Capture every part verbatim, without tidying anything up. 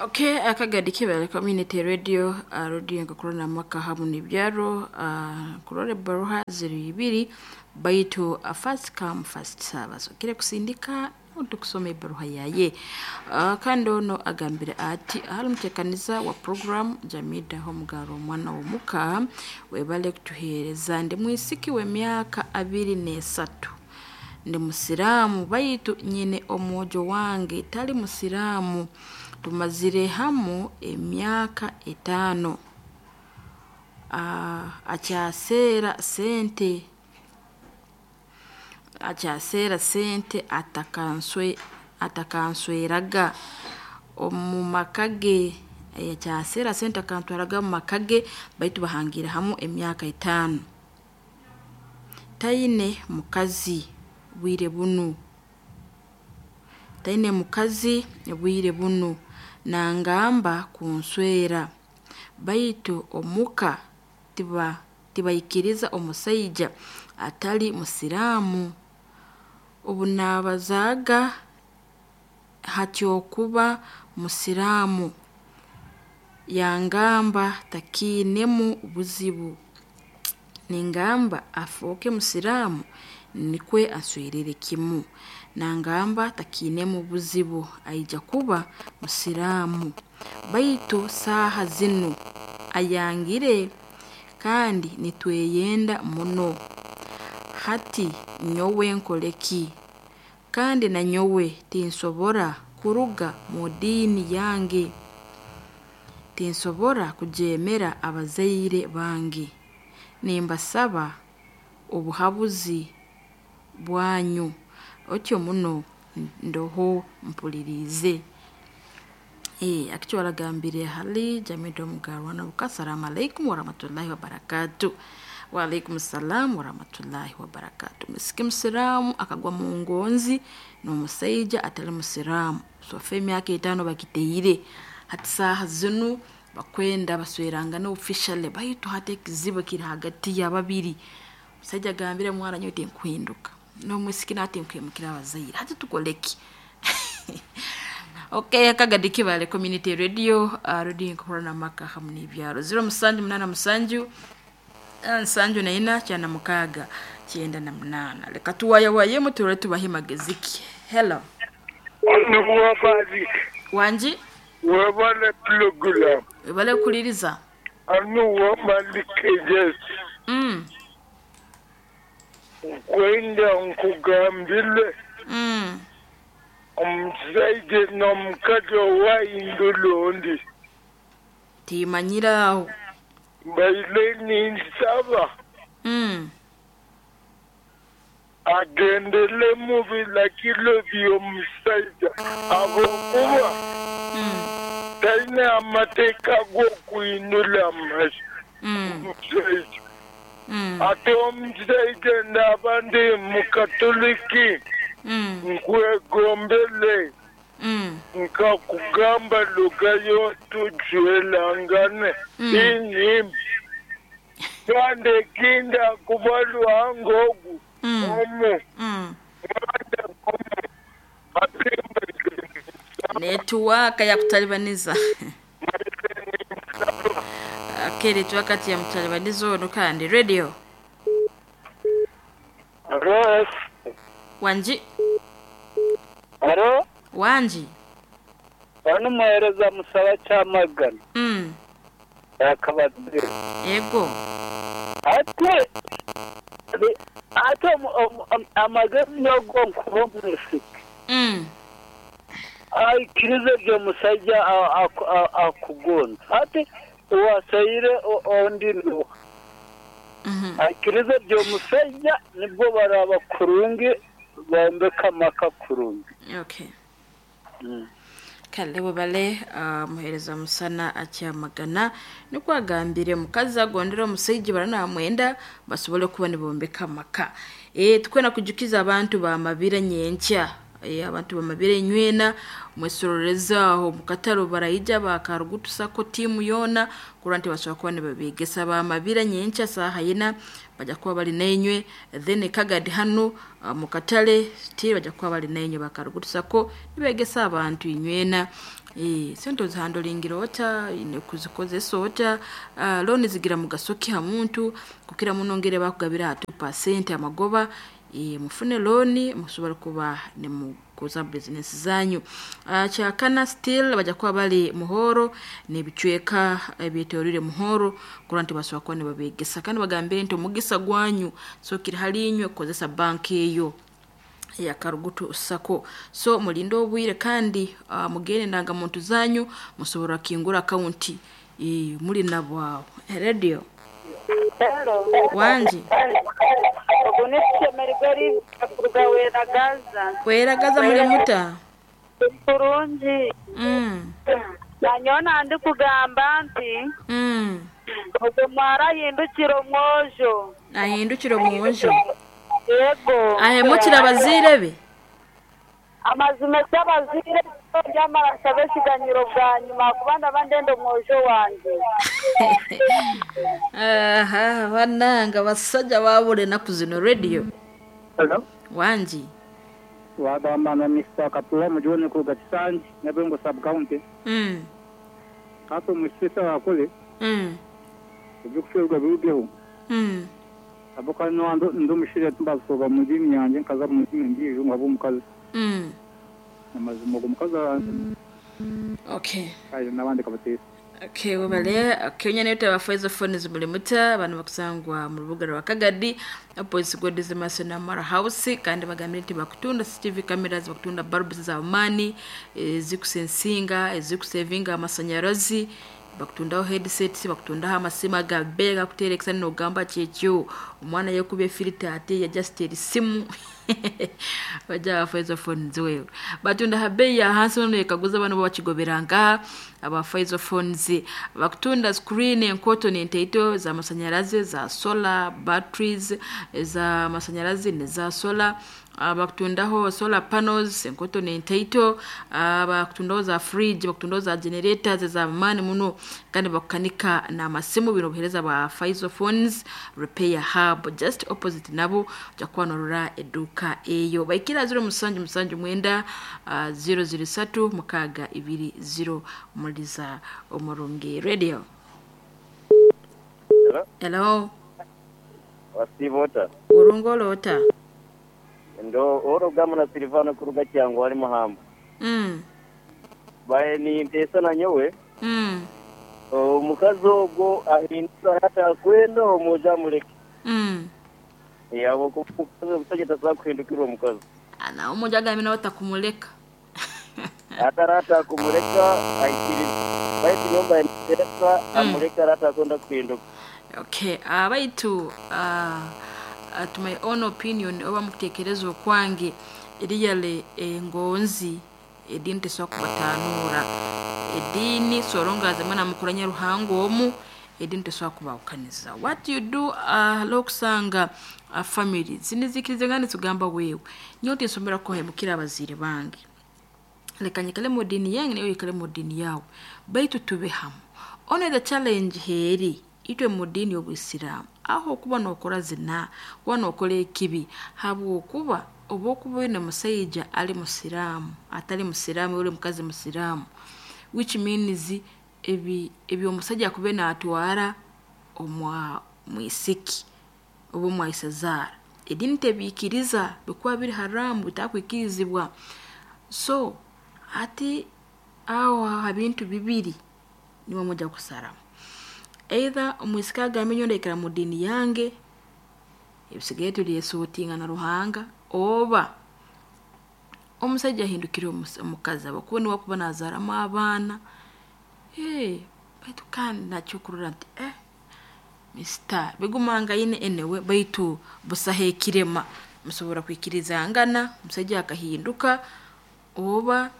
Okay, akagadi kibale community radio uh, radio nkakorana maka hamu nibyaro uh, kurore baruha ziri ibiri baitu uh, first come first serve. So kire kusindika tukusoma ebaruha yaye. uh, kandi ono agambire ati ahali mutekaniza wa program Jamida Homugaro omwana w'omuka webale kutuheereza. Ndi mwisiki w'emyaka abiri n'esatu, ndi musiraamu baitu nyine omwojo wange tali musiraamu. Tumazire hamu emyaka etaano. uh, akyaseera sente akyaseera sente atakanswe atakansweraga omu maka ge. Akyaseera sente akantwaraga mu maka ge, baitu bahangiire hamu emyaka etaano. Taine mukazi bwire bunu, taine mukazi bwire bunu, nangamba kunswera baitu omuka tiba tibaikiriza omusaija atali musiraamu. Obunabazaaga hatyokuba musiraamu yangamba takiinemu buzibu, ningamba afooke musiraamu nikwe aswerere kimu. Nangamba takiinemu buzibu aija kuba musiraamu, baitu saaha zinu ayangire kandi nitweyenda muno. Hati nyowe nkoleki? Kandi nanyowe tinsobora kuruga mu diini yange, tinsobora kujeemera abazaire bange. Nimbasaba obuhabuzi bwanyu. Otyo muno ndoho mpuliriize. E, akicyo waragambire hali Jamida Omugarwana buka. Assalamu alaikum warahmatullahi wabarakatuh. Wa alaikum salam warahmatullahi wabarakatuh. Musiki musiraamu akagwa mu ngonzi n'omusaija atali musiraamu. Sofa emyaka etaano bakiteire hati saaha zinu bakwenda baswerangana officially, baitu hati ekizibu kiri hagati ya babiri. Omusaija agambire mwana nyowe tinkuhinduka, n'omwisiki nawe tinkwimukira abazaire, hati tukoleki? Okay, akagadi kibale community radio uh, radio nkorana maka hamu n'ibyaro zero musanju munana musanju nsanju na ina kyana mukaaga kyenda na munana. Leka tuwayawayemu turore tubahe magezi ki. Hello. Nuwabazi wanji webale program webale kuliriza anuwa malikejes mm. kwenda nkugambile mm. omusaija n'omukazi owahindula ondi timanyiraho mbaire ninsaba mm. agendele mu bilagiro by'omusaija habwokuba mm. talina amateeka g'okuhindula amasi mm. omusaija mm. ate omusaija ndaba ndi mukatoliki mm. nkwegombele mm. nkakugamba lugayo tujwelangane Mm. inyimbi kandi ekinda kuba lwanga ogu Mm. omu mm. Netiwaka ya kutalibaniza. Okay, netiwaka ya mutalibaniza ono kandi radio Alo, wanji alo, wanji ono muhereza musaba kyamagana mm. yakabazire Ego ate ate amagezi nogo nkuba omwisiki mm. aikirize ryo musajja akugonza ate wasaire ondi nuha mm -hmm. aikirize ryo musajja nibwo baraba kurungi bombeka amaka kurungi. Okay. Mm. Kale webale uh, muhereza musana akyamagana nikwo agambire mukazi agondera omusaija baranamwenda basobole kuba nibombeka amaka. E, tukwenda kujukiza abantu bamabira nyenkya e, abantu bamabire nywena mwesororeza aho mukataro baraija bakarugutu sako timu yona kurora nti basobora kuba nibabegesa bamabira nyenkya saaha ina bajja kuba bali nainywe. Then Kagadi hanu uh, mukatale still bajja kuba bali nainywe bakarugutu sako nibegesa abantu inywena. E, sente ozihandolingira ota ine kuzikozesa ota, uh, looni zigira mugaso ki ha muntu kukira muno ngere bakugabira ha two percent amagoba. E, mufune looni musobora kuba nimukoza bizinesi zanyu. Uh, kyakana still bajja kuba bali muhoro n'ebicweka ebyetooroire muhoro kurora nti basobora kuba nibabegesa kandi bagambire nti omugisa gwanyu so kiri hali inywe kukozesa banka eyo ya Karugutu Sacco. So mulinde obwire kandi uh, mugende endangamuntu zanyu musobora kingura akaunti e, muli nabo aho. Radio Hello. Wanji Ogu nishemererwa kuruga Weragaza. Weragaza muri muta Kurungi. mm. Nanyowe nandi kugamba nti mm. ogwo mwara ahindukire omwojo. Ahindukire omwojo. Yego. Ahemukire abazaire be. Amazima ky'abazaire byamara nsaba ekiganyiro bwanyuma kuba ndaba ndenda omwojo wange. Aha, bananga basajja babula ennaku zino. Radio Hello. Wanji Wagamba na Mister Kapula mujone kuruga Kisangi Nyabengo sub county. mm. Hapo musisa wakole mm. ebyokuferwa birugeho. mm. Aboka no ndo mushire tumbasoba mu dini yanjye nkaza mu dini ngijo ngabo mukazi. mm. Amazima go mukazi Okay. ayo nabandi kabatesa. Okay, webale kenya nayo tabafaiza phone zimuli muta abantu bakusangwa mu rubuga rwa Kagadi opposite God's Mercy na Mara House kandi bagambire nti bakutunda C C T V cameras, bakutunda bulbs za mani ezikusensinga ezikusevinga amasanyarazi, bakutundaho headsets, bakutundaho amasimu agabe gakuterekesa nogamba kyekyo omwana yekubye filter ate ya just simu bajja abafaiza phones wewe batunda ha bei ya hansi bano yekaguza bano bakigoberanga abafaiza phones bakutunda screen enkoto n'enteito za masanyarazi za solar batteries za masanyarazi ne za solar, bakutundaho solar panels enkoto n'enteito, bakutundaho za fridge, bakutundaho za generators za mani muno kandi bakukanika n'amasimu. Bino buhereza ba Faizo Phones Repair Hub just opposite nabo ojja kuba norora edduuka eyo baikira zero musanju musanju mwenda uh, zero zero satu mukaaga ibiri zero muliza omurungi. Radio Hello. Hello. Wasivota. Urungolota. Ndo orogamu na Silvano kuruga cyango wali muhamba. Mm. Bae ni mpesa na nyowe. Mm. Omukazi ogwo ahindura hata kwenda omuja muleke. Mm. Yabo kumukazi omusajja tasobola kuhindukirwa omukazi. Ana omuja agambe nawe takumuleka. Atarata kumuleka aikiriza. Baitu nyumba mpesa amuleka rata akwenda kuhinduka. Okay, abaitu uh, uh, to my own opinion oba mukutekereza okwange eriyale engonzi edini tesobola kubatanura edini sorongaze mwana mukuranya ruhango omu edini tesobola kubawukaniza. What you do uh, lokusanga uh, family zinizikirize ngani tugamba wewe nyote nsomera ko hemukira abazire bange leka nyikale mu dini yange nayo yikale mu dini yawe baitu tube hamwe. Only the challenge heri itwe mu dini y'obusiraamu aho okuba n'okora zina kuba n'okora ekibi habwokuba oba okuba oine musaija ali musiraamu atali musiraamu ori mukazi musiraamu which means ebi ebyomusajja akube naatwara omwa mwisiki oba omwaisazaara edini tebiikiriza bikuba biri haramu bitakwikirizibwa. So ati aho ha bintu bibiri nimwe mujja kusaramu either omwisiki agambe nyowe ndaikara mu dini yange ebisigaye turyesuutinga na Ruhanga oba omusajja ahindukire omukazi abakuba niwe akuba nazaaramu abaana. Hey, baitu kandi nakyo kurora nti eh mister bigumangaine enewe baitu busaho ekirema musobora kwikirizangana omusajja akahinduka oba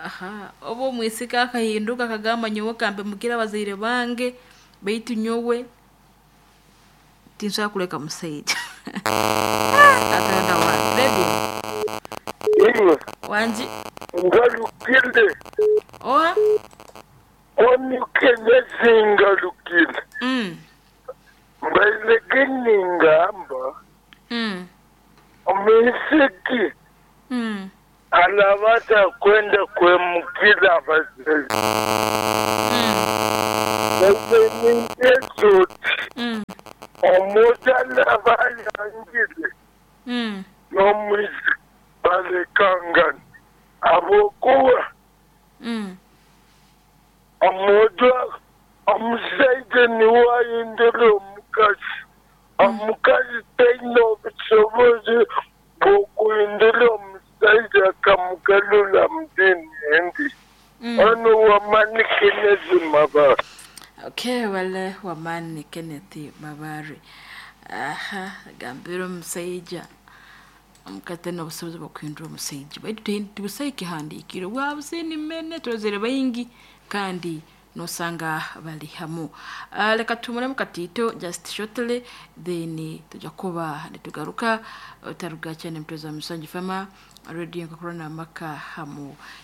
aha oba omwisiki akahinduka akagamba nyowe kambe mukira abazaire bange baitu nyowe tinsobola kuleka musaija. Katonda wange, Radio. Iwe. Wangi. Ngalukile. Oha. Omukenyezi ngalukile. Mm. Mbaileke ningamba. Mm. Omwisiki Mm. alabata kwenda kwemukila abazaire. Mm. Baise Mm. omuntu alaba ayangire Mm. n'omwisiki balekangana abokuba Mm. omuntu omusaija niwe ayindira omukazi, omukazi taine obusobozi bw'okuhindura omusaija akamugarura mu diini endi. Mm. Ono wamani Kenneth Mabare. Okay, wale wamani Kenneth Mabare. Aha, gambira omusaija omukate n'obusobozi bw'okuhindura omusaija, baitu tibusaho ekihandiikire bwabusini mene turozere baingi kandi nosanga bali hamu. uh, leka tumulemu katito just shortly, then tujja kuba nitugaruka. Otaruga cyane, mtoza musangi fama radio nkakorana amaka hamu.